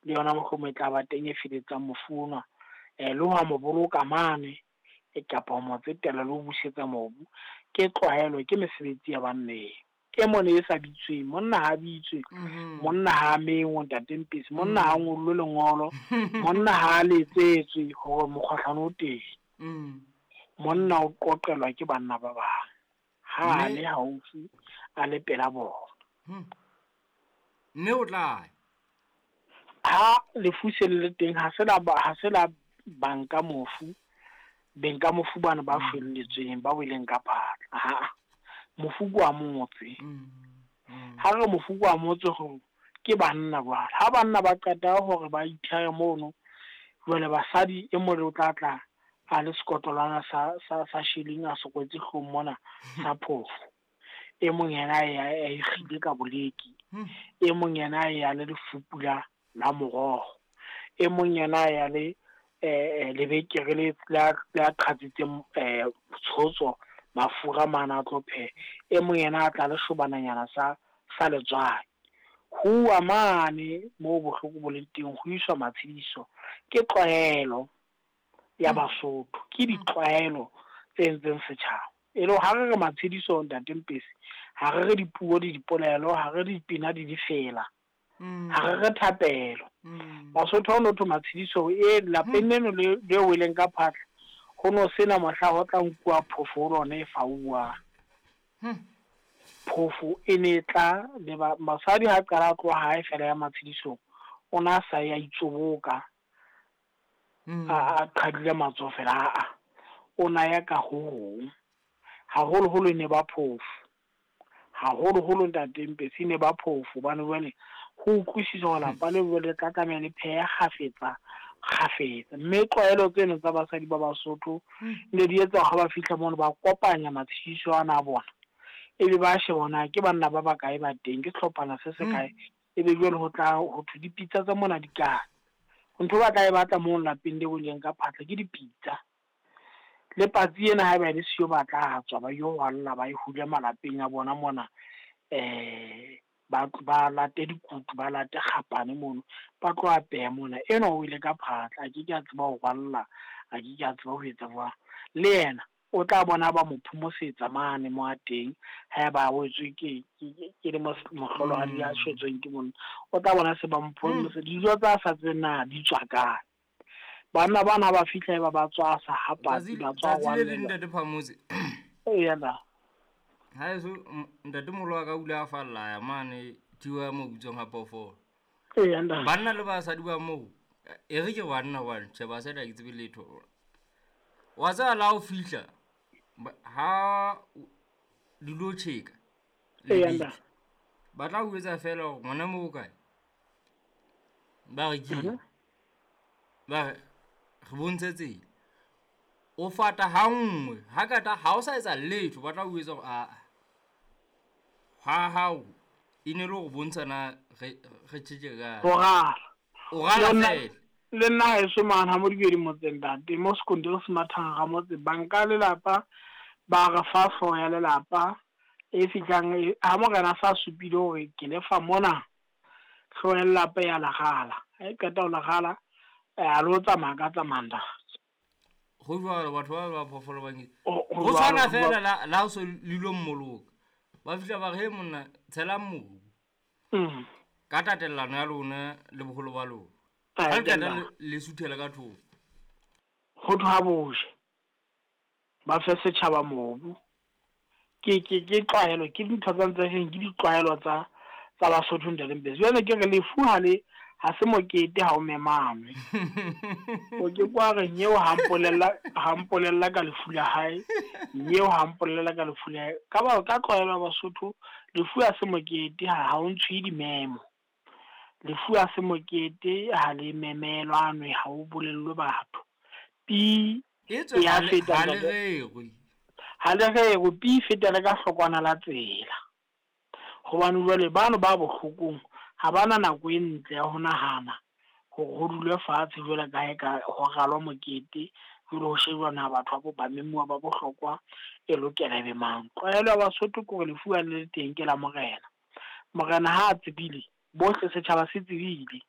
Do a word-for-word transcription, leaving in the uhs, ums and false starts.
Le yona mohlomong e tla ba teng e feletsang mofu onwa, eh le ho mo boloka mane e kapa ho mo tsetela le ho busetsa mobu. Ke tlwaelo, ke mesebetsi ya banneng. E mone e sa bitsweng, monna ha bitswe, monna ha mengwe ntate Mpesi, monna ha ngollwe lengolo, monna ha letsetswe hore mokgohlane o teng. Monna o qoqelwa ke banna ba bang ha a le haufi, a le pela bona. Mme o tla ha lefu se le teng, ha se la ha se la banka mofu, benka mofu bana ba felletsweng ba weleng ka phatla. Ha mofu kwa motse, ha re mofu kwa motse ho ke banna jwale. Ha banna ba qeta hore ba ithere mono, jwale basadi e mong o tla tla a le sekotlolwana sa sa sa shilling a sokwetse hlong mona sa phofo. E mong yena a ikgile ka boleki, e mong yena ya le lefupu la la moroho, e mong yena ya le eh lebekere le la la qhatsitseng eh tshotso mafura mana a tlo pheha, e mong yena a tla le shobananyana sa sa letswai. Huwa mane moo bohloko bo leng teng, ho iswa matshediso. Ke tlwaelo ya Basotho, ke ditlwaelo tse entseng setjhaba. E le ha re re matshediso ntate Mpesi, ha re re dipuo le dipolelo, ha re dipina di difela, ha re re thapelo. Basotho ha o no thwe matshediso e lapeng leno le le weleng ka phatla, ho no sena mohla ho tla nkuwa phofo ho lona e fauwang. Phofo e ne tla le ba basadi ha qala tloha hae fela ya matshedisong, o na sa ya itsoboka a qhadile matsoho fela, a o na ya ka ho hong. Haholoholo ne ba phofo, haholoholo ntate Mpesi ne ba phofo, hobane jwale ho utlwisisa hore lapa le jwale le tla tlameha le phehe kgafetsa kgafetsa. Mme tlwaelo tseno tsa basadi ba Basotho ne di etsa ha ba fihla mono ba kopanya matshediso ana a bona, ebe ba sheba hore na ke banna ba bakae ba teng, ke sehlophana se se kae, ebe jwale ho tla ho thwe dipitsa tsa mona di kae. Ntho ba tla e batla moo lapeng le weleng ka phatla ke dipitsa. Le patsi ena haeba e le siyo ba tla tswa ba yo rwalla ba e hule malapeng a bona mona, eh ba ba late dikutu, ba late kgapane mono, ba tlo apeha mona. Enwa o ile ka phatla, a ke ke a tseba ho rwalla, a ke ke a tseba ho etsa jwang. Le yena o tla bona ba mo phomosetsa mane mo a teng, haeba a wetswe ke ke le mohlolohadi ya shwetsweng ke monna, o tla bona se ba mo phomosetsa. Dijo tsa sa tsebeng na di tswa kae. Banna bana ba fihla ba ba tswa sa ha patsi, ba tswa tsatsi le leng ntate Phamotse. Eya na. Ha eso ntate moholo wa ka o ile a falla ya mane thiwa ya mo bitswang ha phoofolo. Eya ntate. Banna le basadi ba moo, e re ke banna hobane tjhe basadi ha ke tsebe letho. Wa tseba la ho fihla ha di lo tjheka, Eya ntate. ba tla o etsa fela hore ngwana moo o kae. Ba re ke ba re re bontshe tsela. O fata ha nngwe, ha kata ha o sa etsa letho, ba tla o etsa hore a ha hao e ne le hore bontsha na re re tjheke kae. O rala. O rala fela. Le nna haeso mane ha Modibedi motseng ntate, mo sekontiri se mathang ga motse, banka lelapa ba re fa hlooho ya lelapa e fihlang ha morena sa supile hore ke lefa mona, hlooho ya lelapa ya lagala. Ha e qeta ho lagala, a lo tsamaya ka tsamaya ntate. Ho jwalo batho ba ba phoofolo ba nke. Ho Ho tshwana fela la la so lilo mmoloka. Ba fihla ba re, he monna tshelang mobu. Ka tatellano ya lona le boholo ba lona. Ha le qeta le suthela ka thoko. Ho thwe ha boje ba fe setjhaba mobu. Ke ke ke tlwaelo, ke dintho tsa ntse reng ke ditlwaelo tsa tsa Basotho ntate Mpesi. Jwale ke re lefu ha le ha se mokete ha o memanwe. O ke kwa re nyeo ha mpolella, ha mpolella ka lefu la hae, nyeo ha mpolella ka lefu la hae. Ka ba ka tlwaelo ya Basotho, lefu ha se mokete ha ha o ntshwe dimemo. Lefu ha se mokete ha le memelwanwe, ha o bolellwe batho. Pi E tswe ya ha le feta ha le ntate. rerwe. Ha le rerwe, pi feta le ka hlokwana la tsela. Hobane jwale bano ba bohlokong ha bana nako e ntle ya ho nahana hore ho dulwe fatshe jwale ka ha eka ho ralwa mokete, jwale ho shejwa na batho ba ba memuwa ba bohlokwa e lokela ebe mang. Tlwaelo ya Basotho ke hore lefu ha le le teng ke la morena. Morena ha a tsebile, bohle setjhaba se tsebile.